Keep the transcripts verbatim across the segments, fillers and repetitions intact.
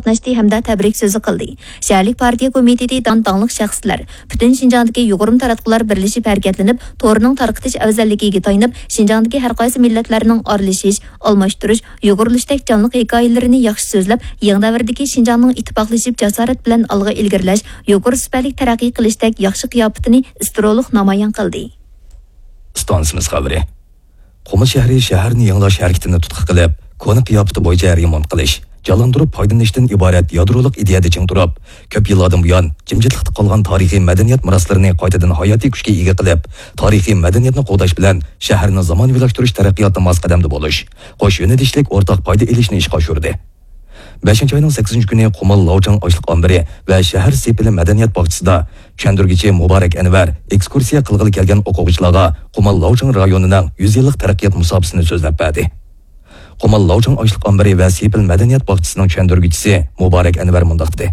قاتناشتى ھەمدە تەبرىك سۆزى قىلدى. شەھەرلىك پارتىيە كومىتېتى دان-، داڭلىق شەخسلەر، پۈتۈن شىنجاڭدىكى يۇغۇرما تاراتقۇلار بىرلىشىپ ھەرىكەتلىنىپ، تورنىڭ تارقىتىش ئەۋزەللىكىگە تايىنىپ، شىنجاڭدىكى ھەرقايسى مىللەتلەرنىڭ ئارىلىشىش، ئالماشتۇرۇش، يۇغۇرۇلۇشتەك جانلىق ھېكايىلىرىنى ياخشى سۆزلەپ، يېڭى دەۋردىكى شىنجاڭنىڭ ئىتتىپاقلىشىپ، جاسارەت بىلەن ئالغا ئىلگىرىلەش، يۇقىرى سۈپەتلىك تەرەققىي قىلىشتەك ياخشى قىياپىتىنى ئىسترولۇق نامايان قىلدى. ئىستانسىمىز خەۋىرى. قۇمۇل شەھىرى شەھەرنى يېڭىلاش ھەرىكىتىنى تۇتقا قىلىپ، كونا قىياپىتى بويىچە رېمونت قىلىش، جانلاندۇرۇپ پايدىلىنىشتىن ئىبارەت يادرولۇق ئىدىيەدە چىڭ تۇرۇپ، كۆپ يىللاردىن بۇيان جىمجىتلىقتا قالغان تارىخىي مەدەنىيەت مىراسلىرىنى قايتىدىن ھاياتىي كۈچكە ئىگە قىلىپ، تارىخىي مەدەنىيەتنى قوغداش بىلەن شەھەرنى زامانىۋىلاشتۇرۇش تەرەققىياتىدا ماس قەدەمدە بولۇش، قوش يۆنىلىشلىك ئورتاق پايدا ئېلىشنى ئىشقا ئاشۇردى. بەشىنچى ئاينىڭ سەككىزىنچى كۈنى قۇمۇل لاۋچاڭ ئاشلىق ئامبىرى ۋە شەھەر سېپىلى مەدەنىيەت باغچىسىدا چۈشەندۈرگۈچى مۇبارەك ئەنۋەر ئېكسكۇرسىيە قىلغىلى كەلگەن ئوقۇغۇچىلارغا قۇمۇل لاۋچاڭ رايونىنىڭ يۈز يىللىق تەرەققىيات مۇساپىسىنى سۆزلەپ بەردى. قۇمۇل لاۋچاڭ ئاشلىق ئامبىرى ۋە سېپىل مەدەنىيەت باغچىسىنىڭ چۈشەندۈرگۈچىسى مۇبارەك ئەنۋەر مۇنداق دېدى: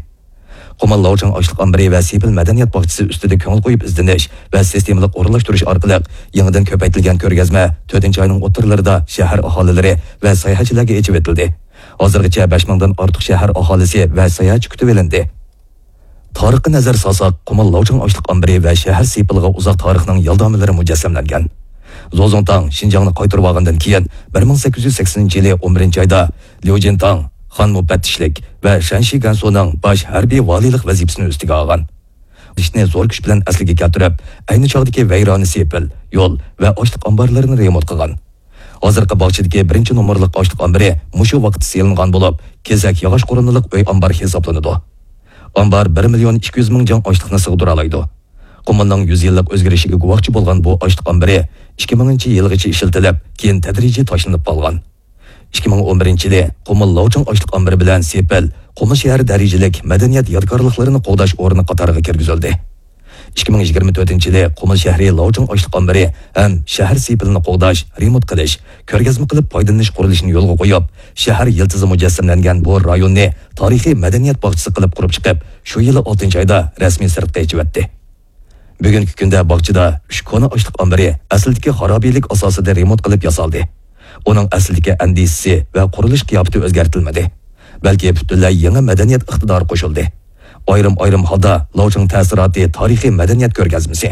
قۇمۇل لاۋچاڭ ئاشلىق ئامبىرى ۋە سېپىل مەدەنىيەت باغچىسى ئۈستىدە كۆڭۈل قويۇپ ئىزدىنىش ۋە سىستېمىلىق ئورۇنلاشتۇرۇش ئارقىلىق يېڭىدىن كۆپەيتىلگەن كۆرگەزمە تۆتىنچى ئاينىڭ ئوتتۇرىلىرىدا شەھەر ئاھالىلىرى ۋە ساياھەتچىلەرگە ئېچىۋېتىلدى. ھازىرغىچە بەش مىڭدىن ئارتۇق شەھەر ئاھالىسى ۋە ساياھەتچى كۈتۈۋېلىندى. تارىخقا نەزەر سالساق، قۇمۇل لاۋچاڭ ئاشلىق ئامبىرى ۋە شەھەر سېپىلىغا ئۇزاق تارىخنىڭ يالدامىلىرى مۇجەسسەملەنگەن. زوزۇڭتاڭ شىنجاڭنى قايتۇرۇۋالغاندىن كېيىن، بىر مىڭ سەككىز يۈز سەكسىنىنچى يىلى ئون بىرىنچى ئايدا ليۇجىنتاڭ خان مۇپەتتىشلىك ۋە شەنشى گەنسۇنىڭ باش ھەربىي ۋالىيلىق ۋەزىپىسىنى ئۈستىگە ئالغان. ئىشنى زور كۈچ بىلەن ئەسلىگە كەلتۈرۈپ، ئەينى چاغدىكى ۋەيرانە سېپىل، يول ۋە ئاشلىق ئامبارلىرىنى رېمونت قىلغان. ھازىرقى باغچىدىكى بىرىنچى نومۇرلۇق ئاشلىق ئامبىرى مۇشۇ ۋاقىتتا سېلىنغان بولۇپ، كېسەك ياغاچ قورۇنىلىق ئۆي ئامبار ھېسابلىنىدۇ. ئامبار بىر مىليون ئىككى يۈز مىڭ جاڭ ئاشلىقنى سىغدۇرالايدۇ. قۇمۇلنىڭ يۈز يىللىق ئۆزگىرىشىگە گۇۋاھچى بولغان بۇ ئاشلىق ئامبىرى ئىككى مىڭىنچى يىلغىچە ئىشلىتىلىپ، كېيىن تەدرىجىي تاشلىنىپ قالغان. ئىككى مىڭ ئون بىرىنچى يىلى قۇمۇل لاۋچاڭ ئاشلىق ئامبىرى بىلەن سېپىل قۇمۇل شەھەر دەرىجىلىك مەدەنىيەت يادىكارلىقلىرىنى قوغداش ئورنى قاتارىغا كىرگۈزۈلدى. ئىككى مىڭ يىگىرمە تۆتىنچى يىلى قۇمۇل شەھىرى لاۋچاڭ ئاشلىق ئامبىرى ھەم شەھەر سېپىلىنى قوغداش، رېمونت قىلىش، كۆرگەزمە قىلىپ پايدىلىنىش قۇرۇلۇشىنى يولغا قويۇپ، شەھەر يىلتىزى مۇجەسسەملەنگەن بۇ رايوننى تارىخىي مەدەنىيەت باغچىسى قىلىپ قۇرۇپ چىقىپ، شۇ يىلى ئالتىنچى ئايدا رەسمىي سىرتقا ئېچىۋەتتى. بۈگۈنكى كۈندە باغچىدا ئۈچ كونا ئاشلىق ئامبىرى ئەسلىدىكى خارابىلىك ئاساسىدا رېمونت قىلىپ ياسالدى. ئۇنىڭ ئەسلىدىكى ئەندىزىسى ۋە قۇرۇلۇش قىياپىتى ئۆزگەرتىلمىدى، بەلكى پۈتۈنلەي يېڭى مەدەنىيەت ئىقتىدارى قوشۇلدى. ئايرىم-ئايرىم ھالدا لاۋچىڭ تەسىراتى تارىخىي مەدەنىيەت كۆرگەزمىسى،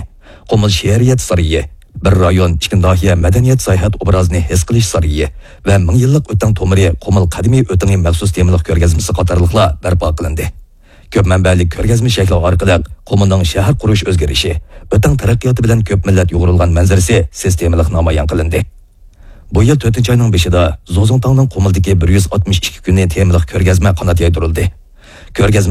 قۇمۇل شېئىرىيەت سارىيى، بىر رايون، ئىككى ناھىيە مەدەنىيەت ساياھەت ئوبرازىنى ھېس قىلىش سارىيى ۋە مىڭ يىللىق ئۆتەڭ تومۇرى قۇمۇل قەدىمىي ئۆتىڭى مەخسۇس تېمىلىق كۆرگەزمىسى قاتارلىقلار بەرپا قىلىندى. كۆپ مەنبەلىك كۆرگەزمە شەكلى ئارقىلىق قۇمۇلنىڭ شەھەر قۇرۇش ئۆزگىرىشى، ئۆتەڭ تەرەققىياتى بىلەن كۆپ مىللەت يۇغۇرۇلغان مەنزىرىسى سىستېمىلىق نامايان قىلىندى. بۇ يىل تۆتىنچى ئاينىڭ بېشىدا زوزۇڭتاڭنىڭ قۇمۇلدىكى بىر يۈز ئاتمىش ئىككى كۈنى تېمىلىق كۆرگەزمە قانات يايدۇرۇلدى. كۆرگەزمە